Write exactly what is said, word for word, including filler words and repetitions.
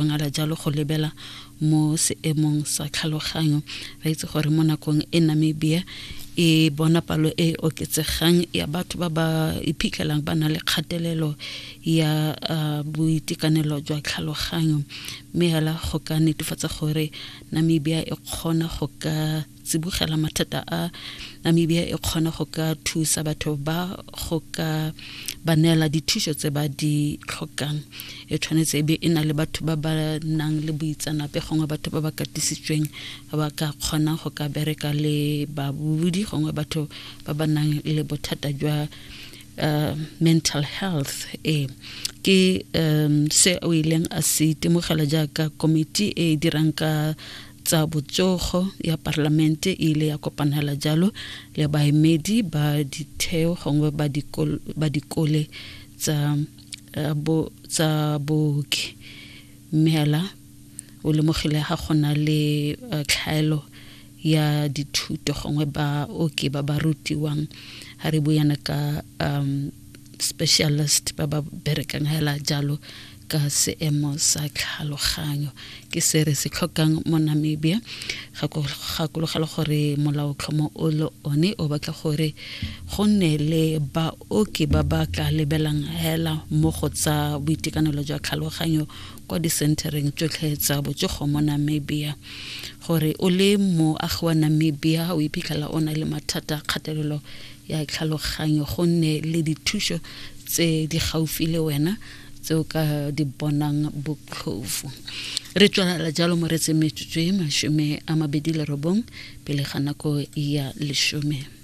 Ngala jalo go lebela mo seemong sa tlhaloganyo. Re itse gore mo nakong e Namibia e bona palo e oketsegang ya batho ba ba iphitlhelang ba na le kgatelelo ya uh, boitekanelo jwa tlhaloganyo, mme hela go ka netefatsa gore Namibia e kgona go ka tsibogela mathata a, Namibia e kgona go ka thusa batho ba, go ka ba neela dithuso tse ba di tlhokang, e tshwanetse e be e na le batho ba ba nang le boitseanape gongwe batho ba ba katisitsweng ba ba ka kgonang go ka bereka le babudi gongwe batho ba ba nang le bothata jwa uh, mental health. E ke um, se o ileng a se itemogela jaaka komiti e e dirang ka tsa botsogo ya parlamente e ile ya kopanela jalo le baemedi ba ditheo gongwe ba dikole tsa bo tsa booki, mme hela o lemogile ga go na le tlhaelo ya dithuto gongwe baoki ba ba rutiwang, ga re buana ka um specialist ba ba berekang hela jalo ka seemo sa tlhaloganyo. Ke se re se tlhokang mo Namibia. Gakologela gore molaotlhomo o le one o batla gore go nne le baoki ba ba tla lebelang hela mo go tsa boitekanelo jwa tlhaloganyo kwa disentereng tsotlhe tsa botsogo mo Namibia, gore o le moagi wa Namibia o iphitlhela o na le mathata a kgatelelo ya tlhaloganyo, go nne le dithuso tse di gaufi le wena tse o ka di bonang botlhofo. Re tswelela jalo mo retse metsotso e mashome a mabedi le robong pele ga nako ya leshome.